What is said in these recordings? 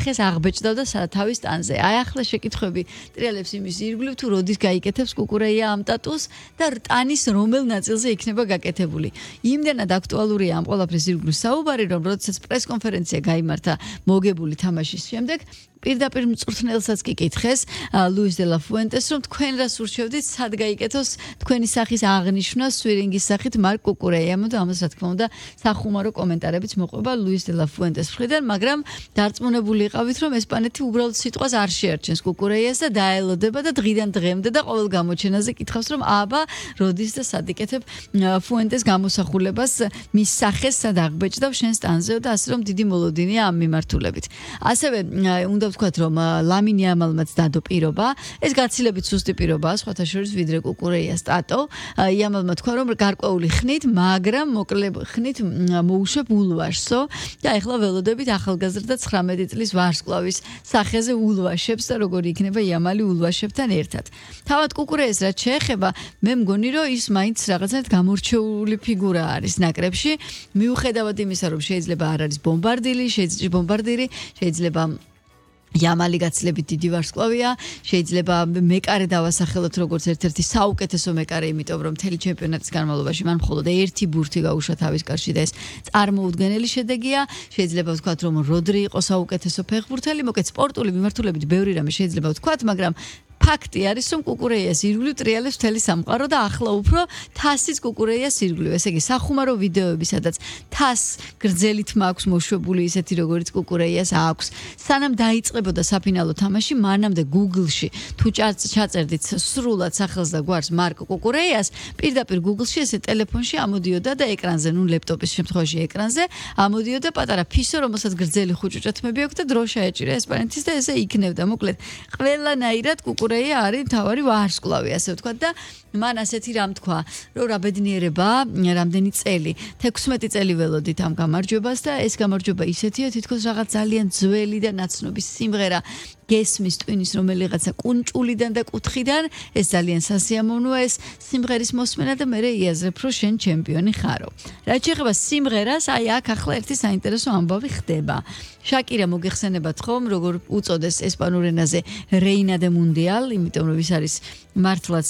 სახეს აღბეჭდავდა თავის ტანზე. აი ახლა შეკითხვები ტრიალებს იმის ირგვლივ თუ როდის გაიკეთებს კუკურეია ამ ტატუს და ტანის რომელ ნაწილზე იქნება გაკეთებული. იმდენად აქტუალურია ამ ყველაფრის ირგვლივ საუბარი, რომ როდესაც პრესკონფერენცია გაიმართა მოგებული თამაშის შემდეგ პირდაპირ მწვრთნელსაც კი კითხეს ლუის დე ლა ფუენტეს რომ თქვენ რას ურჩევდით სად გაიკეთოს თქვენი სახის აღნიშვნა სვირინგის სახით მარკ კუკურეიამ და ამას რა თქმა უნდა სახუმარო კომენტარებიც მოყვება ლუის დე ლა ფუენტეს მხრიდან მაგრამ დარწმუნებული იყავით რომ ესპანეთი უბრალოდ სიტყვას არ შეარჩენს კუკურეიას და დაელოდება და დღიდან დღემდე და ყოველ გამოჩენაზე კითხავს რომ აბა როდის და სად იკეთებ ფუენტეს გამოსახულებას მის სახეს სად აღბეჭდავ შენს ტანზეო და ასე რომ დიდი მოლოდინია ამ მიმართულებით ასევე უნდა ვთქვათ რომ ლამინ იამალმაც დადო პირობა ეს გაცილებით სუსტი პირობაა სხვათა შორის ვიდრე კუკურეიას ტატო იამალმა თქვა რომ გარკვეული ხნით მაგრამ მოკლე ხნით მოუშვებ ულვაშსო და ეხლა ველოდებით ახალგაზრდა 19 წლის ვარსკვლავის სახეზე ულვაშებს და როგორი იქნება იამალი ულვაშებთან ერთად თავად კუკურეიას რაც შეეხება მე მგონი რომ ის მაინც რაღაცნაირად გამორჩეული ფიგურა არის ნაკრებში მიუხედავად იმისა რომ შეიძლება არ არის ბომბარდირი შეიძლება იამალი გაცილებით დიდი ვარსკვლავია შეიძლება მეკარე დავასახელოთ როგორც ერთ-ერთი საუკეთესო მეკარე იმიტომ რომ მთელი ჩემპიონატის განმავლობაში მან მხოლოდ ერთი ბურთი გაუშვა თავის კარში და ეს წარმოუდგენელი შედეგია შეიძლება ვთქვათ რომ როდრი იყო საუკეთესო ფეხბურთელი მოკეთ სპორტული მიმართულებით ბევრი რამე შეიძლება ვთქვათ მაგრამ ფაქტი არის რომ კუკურეიას ირგვლივ ტრიალებს მთელი სამყარო და ახლა უფრო თასის კუკურეიას ირგვლივ ესე იგი სახუმარო ვიდეოები სადაც თას გრძელი თმა აქვს მოშვებული ისეთი როგორც კუკურეიას აქვს სანამ დაიწყებოდა საფინალო თამაში მანამდე Google-ში თუ ჩაწერდით სრულად სახელს და გვარს მარკ კუკურეიას პირდაპირ Google-ში ესე ტელეფონში ამოდიოდა და ეკრანზე ნუ ლეპტოპის შემთხვევაში ეკრანზე ამოდიოდა პატარა ფისო რომელსაც გრძელი ხუჭუჭა თმები აქვს და დრო შეეჭირა ესპანეთის და ესე იქნებდა მოკლედ ყველანაირად კუკურეია არის თავარი ვარსკვლავი ასე ვთქვათ და მან ასეთი რამ თქვა რომ რა ბედნიერება რამდენი წელი 16 წელი ველოდით ამ გამარჯვებას და ეს გამარჯვება ისეთია თითქოს რაღაც ძალიან ძველი და ნაცნობი სიმღერა გესმის ტვინის რომელიღაცა კუნჭულიდან და კუთხიდან ეს ძალიან სასიამოვნოა ეს სიმღერის მოსმენა და მე იაზრებ რომ შენ ჩემპიონი ხარო რაც შეეხება სიმღერას აი აქ ახლა ერთი საინტერესო ამბავი ხდება შაკირა მოგეხსენებათ ხომ როგორ უწოდეს ესპანურ ენაზე რეინა დე მუნდიალ იმიტომ რომ ის არის მართლაც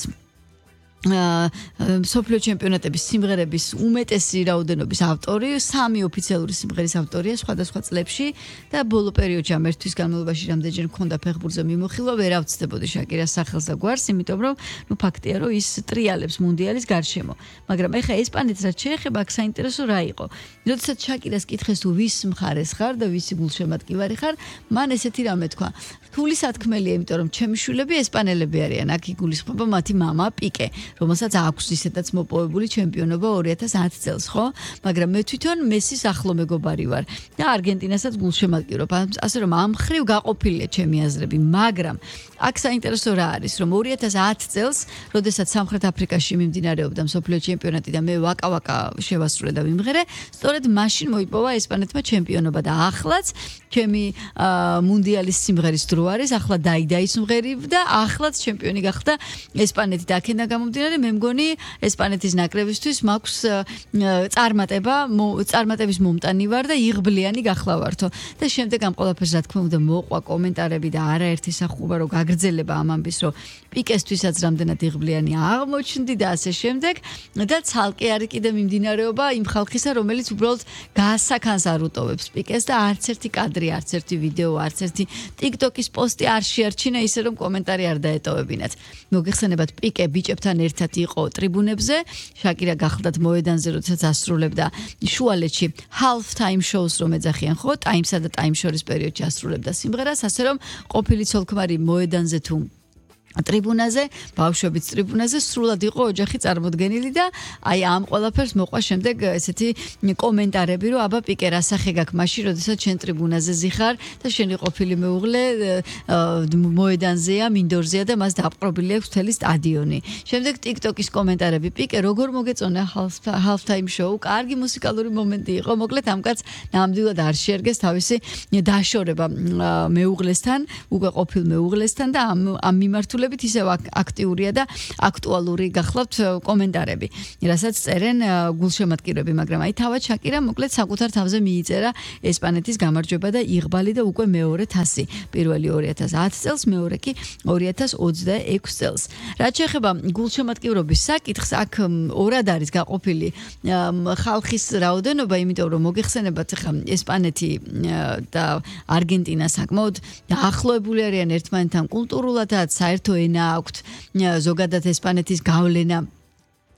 სოფლიო ჩემპიონატების სიმღერების უმეტესი რაოდენობის ავტორი, 3 ოფიციალური სიმღერის ავტორია სხვადასხვა წლებში და ბოლო პერიოდში ამ ერთვის განმავლობაში რამდენჯერ მქონდა ფეხბურთზე მიმოხილვა, ვერ ავწდებოდი შაკირას სახელს და გვარს, იმიტომ რომ ნუ ფაქტია რომ ის ტრიალებს მუნდიალის გარშემო. მაგრამ ეხა ესპანეთს რაც შეეხება, აქ საინტერესო რა იყო. როდესაც შაკირას კითხეს თუ ვის მხარეს ხარ და ვისი გულშემატკივარი ხარ, მან ესეთი რამე თქვა. რთული სათქმელია, იმიტომ რომ ჩემი შვილები ესპანელები არიან, აქ იგულისხმება მათი მამა პიკე. რომელსაც აქვს ისედაც მოპოვებული ჩემპიონობა 2010 წელს, ხო? მაგრამ მე თვითონ მესის ახლო მეგობარი ვარ და არგენტინასაც გულშემატკივრობ. ასე რომ ამ ხრივ გაყოფილია ჩემი აზრები, მაგრამ აქ საინტერესო რა არის, რომ 2010 წელს, როდესაც სამხრეთ აფრიკაში მიმდინარეობდა მსოფლიო ჩემპიონატი და მე ვაკა შევასრულე და ვიმღერე, სწორედ მაშინ მოიპოვა ესპანეთმა ჩემპიონობა და ახლაც ჩემი მუნდიალის სიმღერის დრო არის, ახლა დაიდაის სიმღერები და ახლაც ჩემპიონი გახდა ესპანეთი და აქედან გამომდინარე მე მგონი ესპანეთის ნაკრებისთვის მაქვს წარმატების მომტანი ვარ და იღბლიანი გახლავართო და შემდეგ ამ ყველაფერს რა თქმა უნდა მოყვა კომენტარები და არაერთი სახუბარო გაგრძელება ამ ამბის რომ პიკესთვისაც რამდენად იღბლიანი აღმოჩნდი და ასე შემდეგ და ცალკე არის კიდე მიმდინარეობა იმ ხალხისა რომელიც უბრალოდ გასაქანს არ უტოვებს პიკეს და არც ერთი კადრი არც ერთი ვიდეო არც ერთი TikTok-ის პოსტი არ შეარჩინა ისე რომ კომენტარი არ დაეტოვებინათ მოგეხსენებათ პიკე ბიჭებთან ერთად იყო ტრიბუნებზე შაკირა გახლდათ მოედანზე როდესაც ასრულებდა შუალედში half time shows რომ ეძახიან ხო ტაიმსა და ტაიმ შორის პერიოდში ასრულებდა სიმღერას ასე რომ ყოფილი ცოლქმარი მოედანზე თუ ტრიბუნაზე, ბავშვების ტრიბუნაზე სრულად იყო ოჯახი წარმოდგენილი და აი ამ ყველაფერს მოყვა შემდეგ ესეთი კომენტარები რომ აბა პიკე რა სახე გაქვს მაშინ როდესაც შენ ტრიბუნაზე ზიხარ და შენი ყოფილი მეუღლე მოედანზეა, მინდორზეა და მას დაპყრობილი აქვს მთელი სტადიონი. შემდეგ TikTok-ის კომენტარები პიკე როგორ მოგეწონა half time show, კარგი მუსიკალური მომენტი იყო. მოკლედ ამ კაცს ნამდვილად არ შეერგეს თავისი დაშორება მეუღლესთან, უკვე ყოფილ მეუღლესთან და ამ მიმართულებით მიმართულებით ისევ აქტიურია და აქტუალური გახლავთ კომენტარები. რასაც წერენ გულშემატკივრები, მაგრამ აი თავად შაკირა მოკლედ საკუთარ თავზე მიიწერა ესპანეთის გამარჯვება და იღბალი და უკვე მეორე თასი. პირველი 2010 წელს, მეორე კი 2026 წელს. რაც შეეხება გულშემატკივრობის საკითხს, აქ ორად არის გაყოფილი ხალხის რაოდენობა, იმიტომ რომ მოგეხსენებათ ხა ესპანეთი და არგენტინა საკმაოდ დაახლოებული არიან ერთმანეთთან კულტურულადაც, საერთო ენა აქვთ, ზოგადად ესპანეთის გავლენა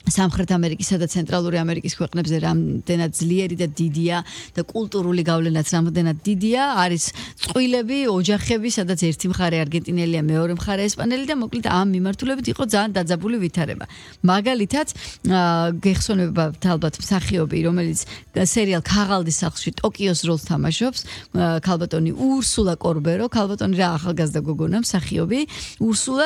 სამხრეთ ამერიკისა და ცენტრალური ამერიკის ქვეყნებზე რამდენად ძლიერი და დიდია და კულტურული გავლენაც რამდენად დიდია, არის წყვილები, ოჯახები, სადაც ერთი მხარე არგენტინელია, მეორე მხარე ესპანელი და მოკლედ ამ მიმართულებით იყო ძალიან დაძაბული ვითარება. მაგალითად, გეხსოვებათ ალბათ მსახიობი, რომელიც სერიალ ქაღალდის სახლში ტოკიოს როლს თამაშობს, ქალბატონი ურსულა კორბერო, ქალბატონი რა ახალგაზრდა გოგონა მსახიობი, ურსულა,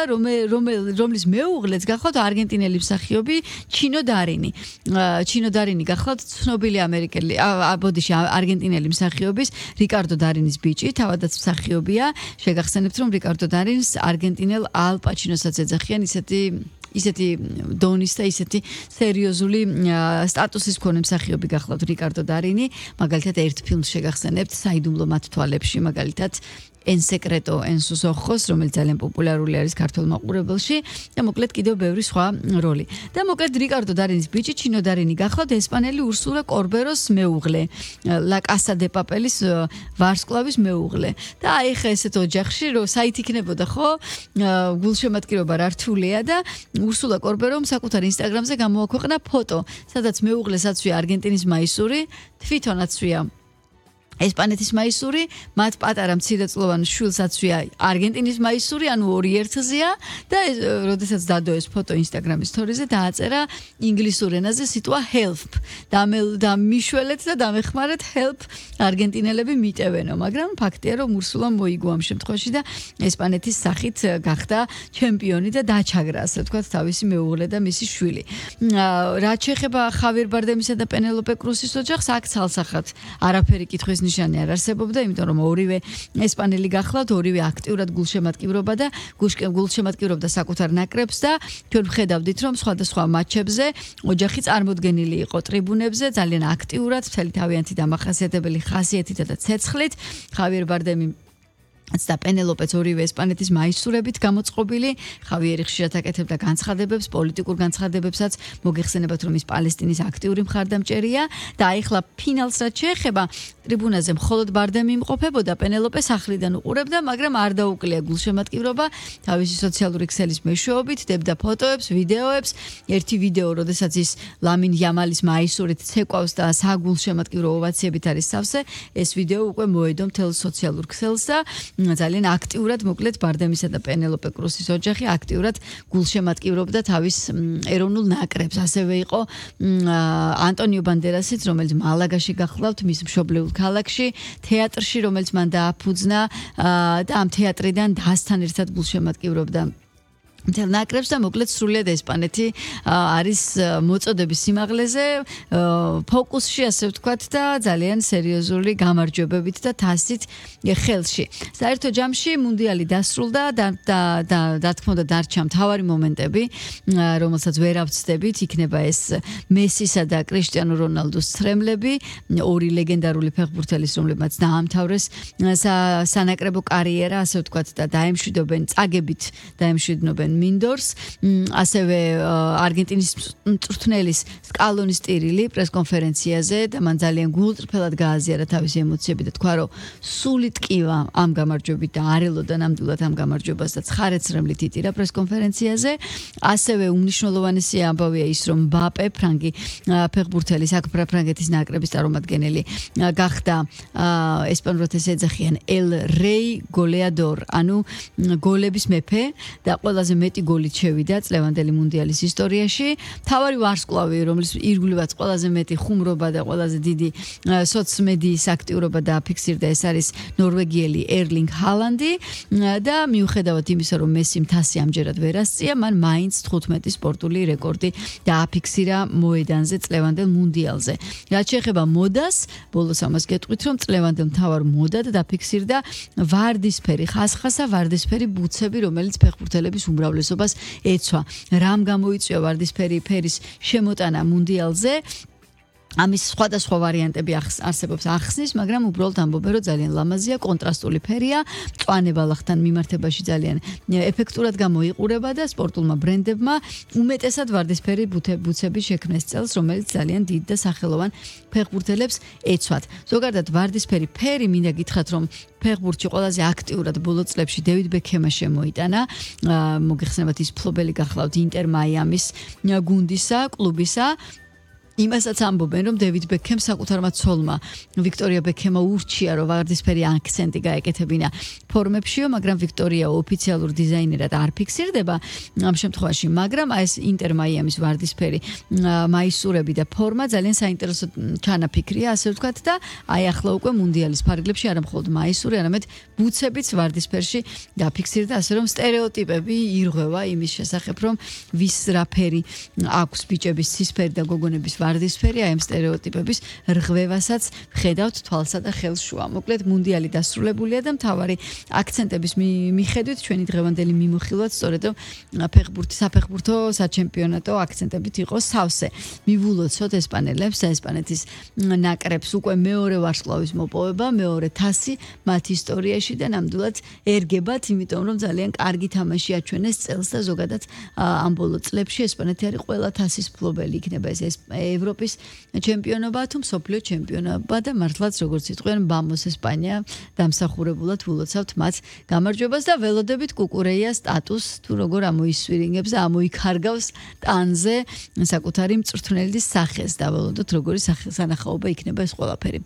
რომლის მეუღლეც გახლავთ არგენტინელი მსახიობი ჩინო დარინი გახლავთ ცნობილი არგენტინელი მსახიობის რიკარდო დარინის ბიჭი, თავადაც მსახიობია. შეგახსენებთ, რომ რიკარდო დარინს არგენტინელ ალ პაჩინოსაც ეძახიან ისეთი დონის და ისეთი სერიოზული სტატუსის მქონე მსახიობი გახლავთ რიკარდო დარინი. მაგალითად ერთ ფილმს შეგახსენებთ საიდუმლო მათ თვალებში, მაგალითად En secreto en sus ojos, რომელიც ძალიან პოპულარული არის ქართულ მაყურებელში და მოკლედ კიდევ ბევრი სხვა როლი. და მოკლედ რიკარდო დარინის ბიჭი ჩინო დარინი გახლავთ ესპანელი ურსულა კორბეროს მეუღლე, La Casa de Papelis ვარსკვლავის მეუღლე. და აი ხა ესეთ ოჯახში რომ საით იქნებოდა ხო? გულშემატკივრობა რართულია და ურსულა კორბერომ საკუთარ ინსტაგრამზე გამოაქვეყნა ფოტო, სადაც მეუღლეს აცვია არგენტინის მაისური, თვითონაც ცვია ესპანეთის მაისური, მათ პატარა მცირეწლოვან შვილს აცვია არგენტინის მაისური, ანუ ორი ერთზეა და როდესაც დადო ეს ფოტო ინსტაგრამის სტორიზე დააწერა ინგლისურ ენაზე სიტყვა help და მიშველეთ და დამეხმარეთ help არგენტინელები მიტევენო, მაგრამ ფაქტია რომ ურსულამ მოიგო ამ შემთხვევაში და ესპანეთის სახით გახდა ჩემპიონი და დაჩაგრა, ასე ვთქვათ, თავისი მეუღლე და მისი შვილი. რაც შეეხება ხავიერ ბარდემისა და პენელოპე კრუსის ოჯახს, აქ ცალსახად არაფერი კითხვის ნიშანი არ არსებობდა, იმიტომ რომ ორივე ესპანელი გახლავთ, ორივე აქტიურად გულშემატკივრობდა საკუთარ ნაკრებს და ჩვენ ვხედავდით, რომ სხვადასხვა მატჩებზე ოჯახი წარმოდგენილი იყო ტრიბუნებზე, ძალიან აქტიურად, მთელი თავიანთი დამახასიათებელი ხასიათითა და ცეცხლით. ხავიერ ბარდემი და პენელოპეც ორივე ესპანეთის მაისურებით გამოწყობილი, ხავიერი ხშირად აკეთებდა განცხადებებს, პოლიტიკურ განცხადებებსაც, მოგეხსენებათ, რომ ის პალესტინის აქტიური მხარდამჭერია და აიხლა ფინალს რაც შეეხება, ტრიბუნაზე მხოლოდ ბარდემი იმყოფებოდა, პენელოპე სახლიდან უყურებდა, მაგრამ არ დაუკლია გულშემატკივრობა, თავისი სოციალური ქსელის მეშვეობით დებდა ფოტოებს, ვიდეოებს, ერთი ვიდეო, როდესაც ის ლამინ იამალის მაისურით ცეკვავს და საგულშემატკივრო ოვაციებით არის სავსე, ეს ვიდეო უკვე მოედო მთელ სოციალურ ქსელს და ძალიან აქტიურად მოკლედ ბარდემისა და პენელოპე კრუსის ოჯახი აქტიურად გულშემატკივრობდა თავის ეროვნულ ნაკრებს. ასევე იყო ანტონიო ბანდერასიც, რომელიც მალაგაში გახლავთ, მის მშობლიურ ქალაქში, თეატრში, რომელიც მან დააფუძნა და ამ თეატრიდან დასთან ერთად გულშემატკივრობდა მთელ ნაკრებს და მოკლედ სრულიად ესპანეთი არის მოწოდების სიმაღლეზე, ფოკუსში, ასე ვთქვათ და ძალიან სერიოზული გამარჯვებებით და თასით ხელში. საერთო ჯამში მუნდიალი დასრულდა და თქმა უნდა დარჩა მთავარი მომენტები, რომელსაც ვერ ავწდებით, იქნება ეს მესისა და კრისტიანო რონალდუს ცრემლები, ორი ლეგენდარული ფეხბურთელის, რომლებმაც დაამთავრეს სანაკრებო კარიერა, ასე ვთქვათ და წაგებით დაემშვიდობენ მინდორს, ასევე არგენტინის მწვრთნელის სკალონის ტირილი პრესკონფერენციაზე და მან ძალიან გულწრფელად გააზიარა თავისი ემოციები და თქვა, რომ სული ტკივა ამ გამარჯვებით და არ ელოდა ნამდვილად ამ გამარჯვებას და ცხარეცრემლით იტირა პრესკონფერენციაზე. ასევე უმნიშვნელოვანესი ამბავია ის, რომ მბაპე, ფრანგი ფეხბურთელი, საფრანგეთის ნაკრების წარმომადგენელი გახდა ესპანურად ეს ეძახიან El Rey Goleador, ანუ გოლების მეფე და ყველაზე მეტი გოლით შევიდა წლევანდელი მუნდიალის ისტორიაში. თავარი ვარსკვლავი, რომლის ირგვლივაც ყველაზე მეტი ხუმრობა და ყველაზე დიდი სოციმედიის აქტიურობა დააფიქსირდა, ეს არის ნორვეგიელი ერლინგ ჰალანდი და მიუხედავად იმისა, რომ მესიმ თასი ამჯერად ვერ ასწია, მან მაინც 15 სპორტული რეკორდი დააფიქსირა მოედანზე წლევანდელ მუნდიალზე. რაც შეეხება მოდას, ბოლოს ამას გეტყვით, რომ წლევანდელ მთავარ მოდად დაფიქსირდა ვარდისფერი ხასხასა, ვარდისფერი ბუცები, რომელიც ფეხბურთელების უმრავლესობას უმრავლესობას ეცვა. რამ გამოიწვია ვარდისფერი ფერის შემოტანა მუნდიალზე? ამის სხვადასხვა ვარიანტები არსებობს ახსნის, მაგრამ უბრალოდ ამბობენ, რომ ძალიან ლამაზია, კონტრასტული ფერია, მწვანე ბალახთან მიმართებაში ძალიან ეფექტურად გამოიყურება და სპორტულმა ბრენდებმა უმეტესად ვარდისფერი ბუცების შექმნეს წელს, რომელიც ძალიან დიდ და სახელოვან ფეხბურთელებს ეცვათ. ზოგადად ვარდისფერი ფერი მინდა გითხრათ, რომ ფეხბურთში ყველაზე აქტიურად ბოლო წლებში დევიდ ბექჰემმა შემოიტანა. მოგეხსენებათ ის ფლობელი გახლავთ ინტერ მაიამის გუნდისა, კლუბისა. იმასაც ამბობენ, რომ დევიდ ბექჰემს საკუთარმა ცოლმა ვიქტორია ბექჰემა ურჩია, რომ ვარდისფერი აქცენტი გაეკეთებინა ფორმებშიო, მაგრამ ვიქტორია ოფიციალურ დიზაინერად არ ფიქსირდება ამ შემთხვევაში, მაგრამ ეს ინტერ მაიამის ვარდისფერი მაისურები და ფორმა ძალიან საინტერესო ჩანაფიქრია, ასე ვთქვათ და აი ახლა უკვე მუნდიალის ფარგლებში არა მხოლოდ მაისური, არამედ ბუცებიც ვარდისფერში დაფიქსირდა, ასე რომ სტერეოტიპები ირღვევა იმის შესახებ, რომ ვის რა ფერი აქვს ბიჭების ცისფერი და გოგონების ვარდისფერი, აი ამ სტერეოტიპების რღვევასაც ხედავთ თვალსა და ხელშუა. მოკლედ მუნდიალი დასრულებულია და მთავარი აქცენტების მიხედვით ჩვენი დღევანდელი მიმოხილვაც სწორედ საფეხბურთო საჩემპიონატო აქცენტებით იყოს სავსე. მივულოცოთ ესპანელებს, ესპანეთის ნაკრებს უკვე მეორე ვარსკვლავის მოპოვება, მეორე თასი მათ ისტორიაში და ნამდვილად ერგებათ, იმიტომ რომ ძალიან კარგი თამაში აჩვენეს წელს და ზოგადად ამ ბოლო წლებში ესპანეთი არის ყველა თასის მფლობელი, იქნება ეს ევროპის ჩემპიონობა თუ მსოფლიო ჩემპიონობა და მართლაც როგორც იტყვიან ბამოს ესპანია დამსახურებულად ულოცავთ მათ გამარჯვებას და ველოდებით კუკურეიას სტატუსს თუ როგორ ამოისვირინგებს და ამოიქარგავს ტანზე საკუთარი მწვრთნელის სახეს და ველოდოთ როგორი სანახაობა იქნება ეს ყველაფერი.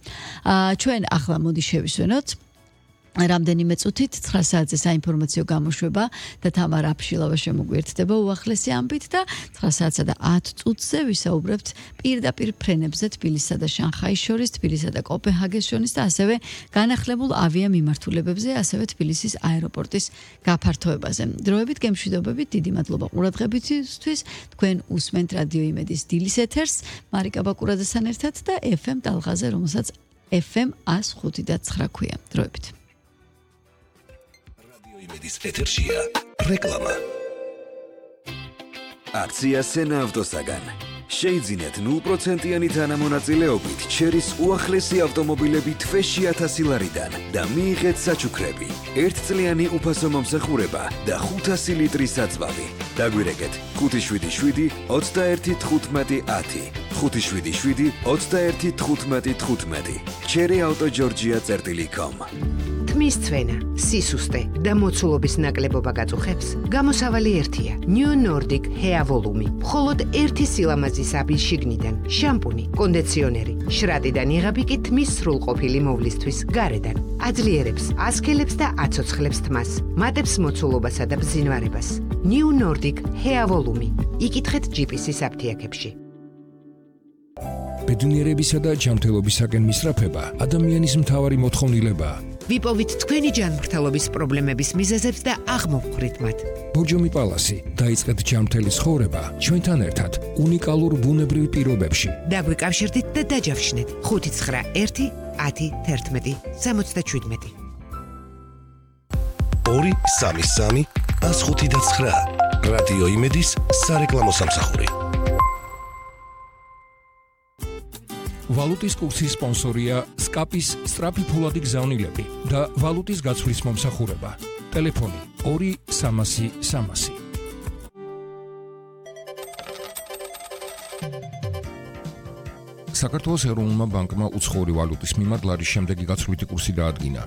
ჩვენ ახლა მოდი შევისვენოთ რამდენიმე წუთით 9 საათზე საინფორმაციო გამოშვება და თამარ აფშილავა შემოგვიერთდება უახლესი ამბით და 9 საათსა და 10 წუთზე ვისაუბრებთ პირდაპირ ფრენებზე თბილისსა და შანხაის შორის, თბილისსა და კოპენჰაგენს შორის და ასევე განახლებულ ავიამიმართულებებზე, ასევე თბილისის აეროპორტის გაფართოებაზე. დროებით გემშვიდობებით, დიდი მადლობა ყურადღებისთვის. თქვენ უსმენთ რადიო იმედის დილის ეთერს, მარიკა ბაკურაძესთან ერთად და FM ტალღაზე, რომელსაც FM 105.9 ქვია. დროებით. იმედის ეთერშია რეკლამა. აქცია სენა ავტოსაგან. შეიძინეთ 0%-იანი თანამონაწილეობით ჩერის უახლესი ავტომობილები თვეში 1000 ლარიდან და მიიღეთ საჩუქრები, 1 წლიანი უფასო მომსახურება და 500 ლიტრის საწვავი. დაგვირეკეთ 577 21 15 10 577 21 15 15 cherryautogeorgia.com. თმის ცვენა, სისუსტე და მოცულობის ნაკლებობა გაწუხებს, გამოსავალი ერთია. New Nordic Hair Volume. მხოლოდ ერთი სილამაზის აბის შიგნიდან, შამპუნი, კონდიციონერი, შრატიდან იღები კი თმის სრულყოფილი მოვლისთვის გარედან. აძლიერებს, ასქელებს და აცოცხლებს თმას, მატებს მოცულობასა და ბზინვარებას. New Nordic Hair Volume. იკითხეთ ჯიპისის აფთიაქებში. ბედნიერებისა და ჯანმრთელობისაკენ მისწრაფება ადამიანის მთავარი მოთხოვნილებაა. ვიპოვით თქვენი ჯანმრთელობის პრობლემების მიზეზებს და აღმოვხვრით მათ. ბოჯომი პალასი დაიწყეთ ჯანმრთელი ცხოვრება ჩვენთან ერთად უნიკალურ ბუნებრივ პირობებში. დაგვიკავშირდით და დაჯავშნეთ 591 10 11 77. 233 105.9 რადიო იმედის სარეკლამო სამსახური. ვალუტის კურსის სპონსორია სკაპის სწრაფი ფულადი გზავნილები და ვალუტის გაცვლის მომსახურება. ტელეფონი 2300. საქართველოს ეროვნულმა ბანკმა უცხოური ვალუტის მიმართ ლარის შემდეგი გაცვლითი კურსი დაადგინა.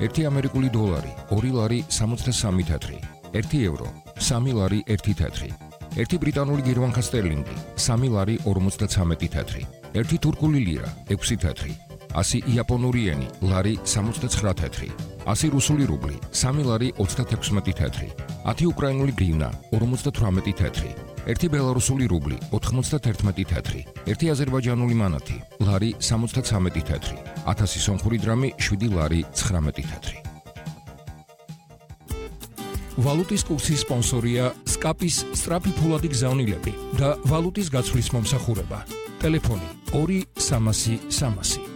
1 ამერიკული დოლარი 2 ლარი 63 თეთრი, 1 ევრო 3 ლარი 1 თეთრი, 1 ბრიტანული გირვანქა სტერლინგი 3 ლარი 53 თეთრი, 1 თურქული ლირა 6 თეთრი, 100 იაპონური ენი ლარი 69 თეთრი, 100 რუსული რუბლი 3 ლარი 36 თეთრი, 10 უკრაინული გრივნა 58 თეთრი, 1 ბელარუსული რუბლი 91 თეთრი, 1 აზერბაიჯანული მანათი ლარი 73 თეთრი, 1000 სომხური დრამი 7 ლარი 19 თეთრი. ვალუტის კურსის სპონსორია სკაპის სწრაფი ფულადი გზავნილები და ვალუტის გაცვლის მომსახურება. ტელეფონი 2300.